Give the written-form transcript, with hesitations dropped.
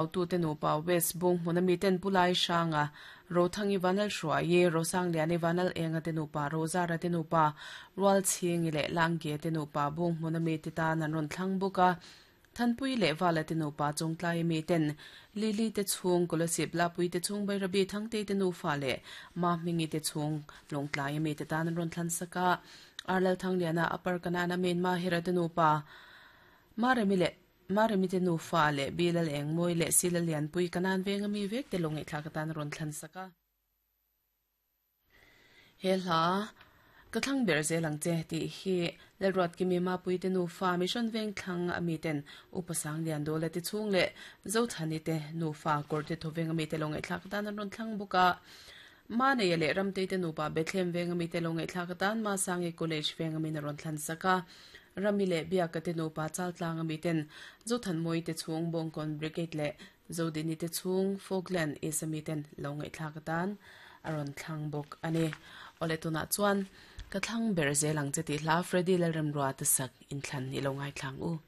Tute nupa West Bung hmuna miten Pu Lai Hranga, Rothangi Vanlalhruaii, Rosangliani Vanlalenga te nupa, Rozara te nupa, Rualchhingi leh Langge te nupa Bung hmuna mite tan an rawn thlang bawk a. Thanpui leh Vala te nupa Chawngtlai miten Lily te chhung, Kolasib Lapui te chhung, Bairabi Thangtei te nufa leh Mahmingi te chhung, Lawngtlai mite tan an rawn thlan sak a. Arlalthangliana Upper Kanana Main Mahira te nupa Maremi leh Maremi te nufa leh Bilal Engmawi leh Sila Lianpui Kanan venga mi vek te lo ngaihthlak atan a rawn thlan sak a. He hla, Ka thlang ber zel ang che tih hi Lalruatkimi Mapui te nufa Mission Vengthlang a mi ten Upa Sanglian Dawla te chhung leh Zothani te nufa Kawrte Thawveng a mi te lo ngaihthlak atan an rawn thlang bawk a. Maneia leh Ramtei te nupa Bethlehem venga mi te lo ngaihthlak atan Masangi College venga min a rawn thlan sak a. Rami leh Biaka te nupa Chaltlanga mi ten Zothanmawii te chhung Bawngkawn Brigade leh Zodini te chhung Falkland East a mi ten lo ngaihthlak atan a rawn thlang bawk a ni. Awle tunah chuan ka thlang ber zel ang che tih hla Freddy Lalremrua te sak inthlan i lo ngaithlang u.